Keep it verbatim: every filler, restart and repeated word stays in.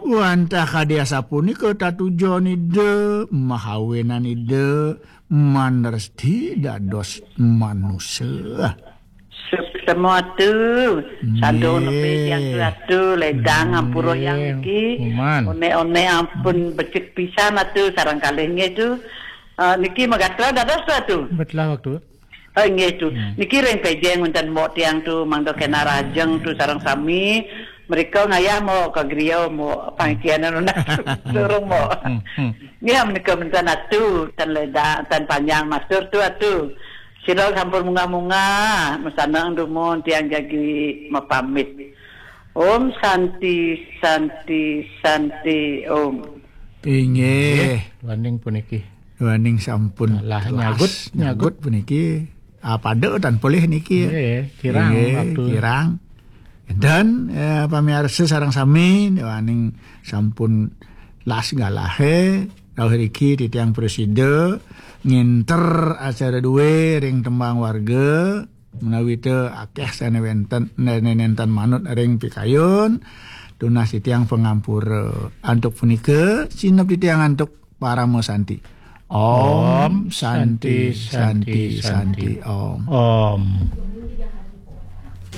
Wantah kadi asapunika tatujon Ida, mahawenan Ida, manresti dados manusa. Suksma tu, sandung nepi tiang tu atu, ledang ampura yang niki. Onek-onek ampun becik pisan atu, sareng kalih nggih tu. Ah, niki magatra dados tu atu. Betlah waktu. Oh, nggih tu. Niki ring pejeng wonten mbok tiang tu, mangda kena rajeng tu sareng sami. Mereka ngayah mbok ka griya mbok pangkianan unak tu. Durung mbok. Nggih, menika menten atu, tan leda, tan panjang matur tu atu. Sira sampun munggah-munggah, mesanang dumun tiang jagi mapamit. Om Santi, Santi, Santi, Om. Inggih. Waning puniki. Waning sampun lah nyagut, nyagut puniki. Ah, pada tan polih niki. Nggih, kirang. Inggih, waktu kirang. Dan, eh, pamiarsa sareng sami, waning sampun las galahe, rauh riki titiang prasida nginter acara duwe ring tembang warga, menawi te akeh sane wenten, nene nenten manut ring pikayun, tunas titiang pangampura. Antuk punika, sinep titiang antuk Parama Santi. Om Santi, Santi, Santi, Om. Om.